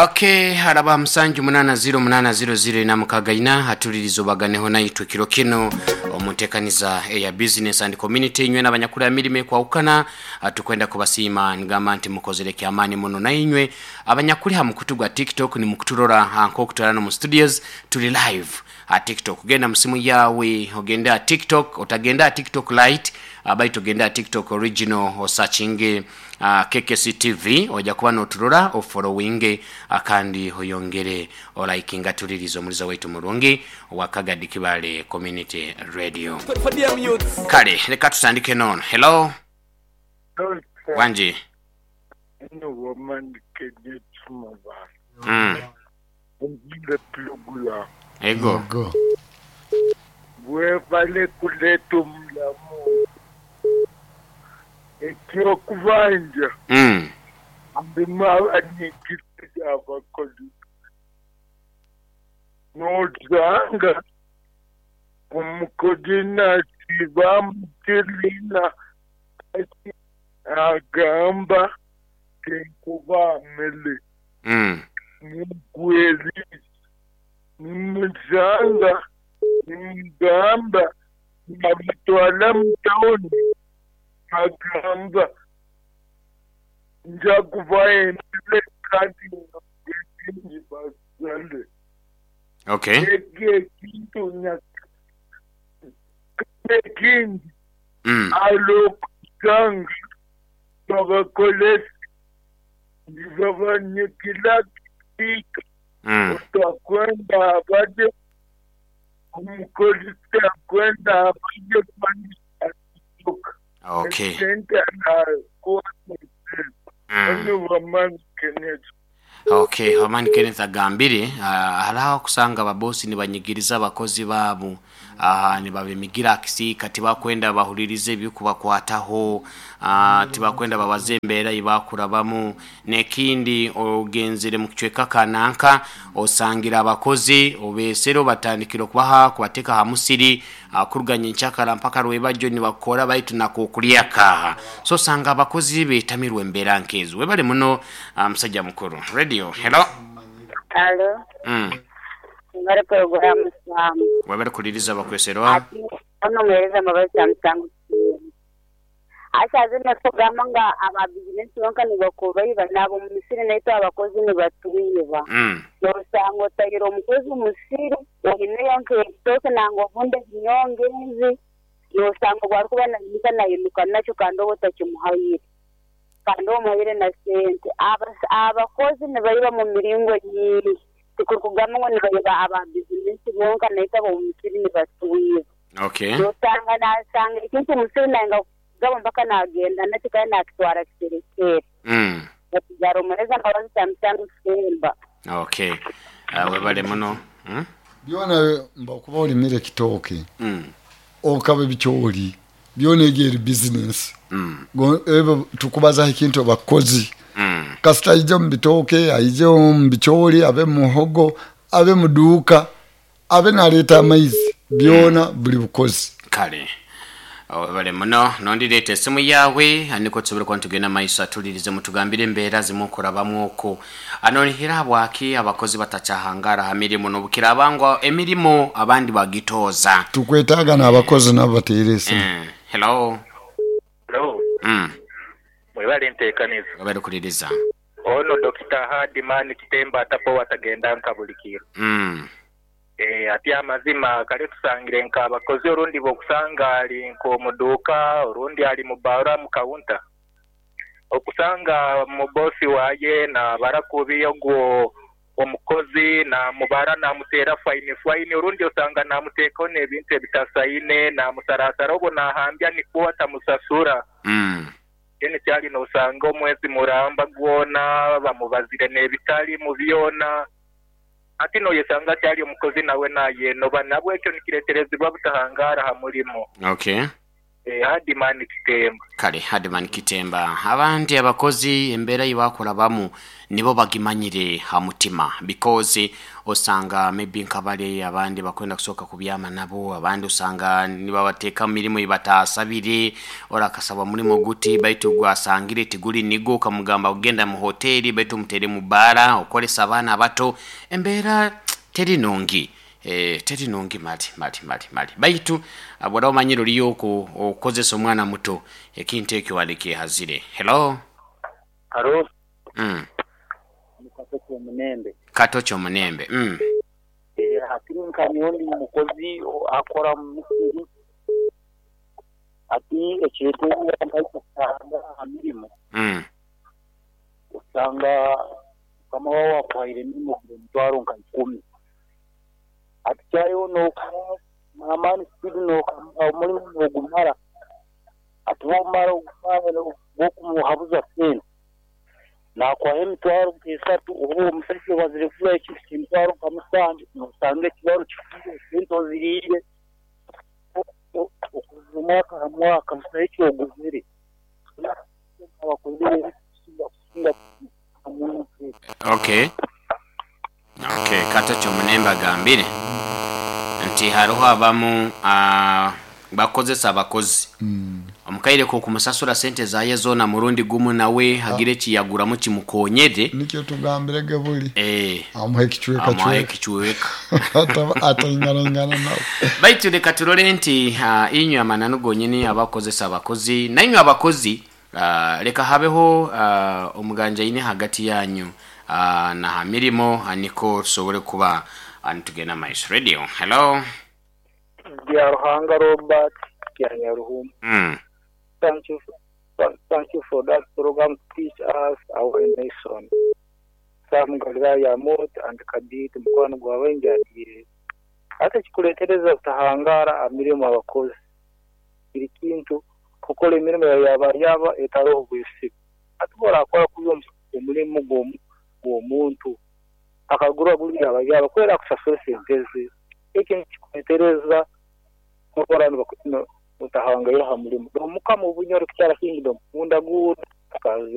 Okay, haraba musanju munana ziro munana ziro ziro ina mukaga ina hatuliriza obaganeho naitwe kiro kino omuntekaniza eya business and community inywe n'abanyakula mirimo ekwahukana tukwenda kubasiima ngamba nti mukozere kyamaani muno nainywe abanyakuli ha mukutu gwa TikTok nimukuturora nk'okutwara no mu studios tuli live ha TikTok. Genda mu simu yawe ogende ha TikTok, otagenda ha TikTok Lite baitu ogende ha TikTok original osakinge KKC TV oja kuba noturora ofollowinge kandi oyongere olikinga tulirize omuliza waitu murungi owa Kagadi Kibale Community Radio. Kale leka tutandike nono. Hello, wangi. Ego. Webale kuleta omulamu eky'okubanja ndimu abanyigiza abakozi n'osanga omukozi nasiiba amutiriina agamba tinkuba mere mugweri nimusanga nimugamba nabatwala mu tawuni agamba nja kubaha emere kandi ngi basale. Okay. Ekyo ekintu ekindi alokusanga babakolesa nibabanyikira kiika otakwenda abaje omukozi takwenda abaje kandi atuka. Okay. Esente anakuwa Wamani Kenneth. Okay, Wamani Kenneth agambire hariho okusanga ababosi nibanyigiriza abakozi baabo nibabemigira akisiika tibakwenda bahuririze ebikubakwataho tibakwenda babaze embeera eyibakurabamu. N'ekindi ogenzere mu kicweka kananka osangira abakozi obeesere obatandikire okubaha kubateeka aha musiri kuruga nyenkyakara mpaka rwebagyo nibakora baitu nakokurya kaha. So osanga abakozi betamirwe embeera nkezo. Webale muno musajja mukuru. Radio, hello. Alo. Mwebale pulogulaamu Sam. Webale kuliriza bakweserwa. Ati ono omuhereza Mbabazi Samusango Kisembo. Asaze natugamba nga aba bizinesi bonka nibakubaiba n'abo mu misiri naitwe abakozi nibatwiba. Nosanga otaire omukozi omu musiri oineyo nk'ebitooke nangwa obundi ebinyonga ezi nosanga obu arikuba naimuka nainuka nakyo kandi oba otakimuhaire kandi omuhaire na sente. Abakozi nibaiba mu miringo nyingi tikurikugamba ngu nibaiba aba bizinesi bonka naitwe ab'omu misiri nibatwiba. Okay. Nosanga nasanga ekintu omu musiri nayenga kukigaba mpaka nagenda nakyo kandi nakitwara kiserekere. Batugara omuhereza Mbabazi Samusango Kisemba. Okay. Webale muno. Byona mba kuba olimire ekitooke okaba ebicoori byona egyo eri bizinesi. Ebyo tukubazaho ekintu abakozi kasita aije omu bitooke aije omu bicoori abe mu muhogo abe mu duuka abe naleeta amaizi byona buli bukozi. Kale webale muno nondireeta esimu yawe niko tusobole kuba nitugenda maiso atulirize mutugambire embeera zimukurabamu oku anonihira habwaki abakozi batakyahangara ha mirimu nobukiraba ngu emirimu abandi bagitooza. Tukwetaaga n'abakozi nabo bateere esimu. Hello. Hello. Mwebale nteekaniza. Webale kuliriza. Ono Dokita Hardman Kitemba atapowa atagenda nka buli kiro. Ati amazima kale tusangire nka abakozi orundi bw'okusanga ali nk'omuduuka orundi ali mu baara mu kaunta. Okusanga mu bosi waye nabara kubi ogwo omukozi namubara namuteera faini faini orundi osanga namuteekaho n'ebintu ebitasaine namusarasara obwo nahambya nikwo atamusasura. Then kyali nosanga omwezi muramba gwona bamubazire n'ebitali mu byona. Ati noyesanga kyali omukozi nawe nayenoba nabwekyo nikireterezibwa butahangara ha mulimo. Okay. Hadiman Kitemba. Kale Hadiman Kitemba, abandi abakozi embeera yibakurabamu nibo bagimanyire ha mutima, because osanga maybe nkabale abandi bakwenda kusoka kubyama nabo, abandi osanga nibabateeka mu mirimu ibatasabire, ora akasaba mulimo guti baitu gwasangire tiguli nigo, ukamugamba ugenda mu hoteli baitu mutere mu bara okolesa abaana abato. Embeera teri nungi. Teri nungi mali mali mali mali, baitu bwora omanyire oliyo okozesa omwana muto, ekintu ekyo walikihazire. Hello. Haro. Katocho Munembe. Katocho Munembe. Ati nkanyondi mukozi akora mu misiri, ati ekintu nkaisanga aha mirimo. Osanga kama wao wakuhaire emirimo emitwaro nka 10. Ati kyayo nokora amani speed omurimo nogumara, ati womara ogumara gwokumuhabuza sente nakwaha emitwaro nk'esatu, oba omusajja obazire kugura ekintu ky'emitwaro nka 7, nosanga ekibaro kifire sente oziriire okuva omwaka ha mwaka busaho ekyoguzire. Abakozi kusinga. Okay, Katocho Munembe agambire nti hariho abamu bakozesa abakozi, omukaire ko kumusasura sente zaye zona murundi gumu, nawe hagire ekiyaguramu kimukonyere. Nikyo tugambirege buli amuha ekichweka. Amuha ekichweka. Atainganaingana nawe. Baitu leka turole nti inywe amananu gonyini abakozesa abakozi, nainywe abakozi, leka habeho omuganjaine hagati yanyu na ha mirimo, niko tusobole kuba nitugenda maiso. Radio. Hello. Bya Ruhanga Robert Kyanyaruhuma. Thank you for that program to teach us our nation. Sam Galilaya Mot and Kadit mukwano gwawe njadiire. Ate kikuletereza kutahangara amirimo abakozi. Biri kintu kukora emirimo yaba yaba etaroho bwesigo. Ate borakora kuba omurimo gw'omuntu akagura buli yaba yaba kwera kusasura sente ze. Eki kikuletereza kukora utahangaira ha murimo. Omukama obunyoro kukyara kingdom munda gura kazi.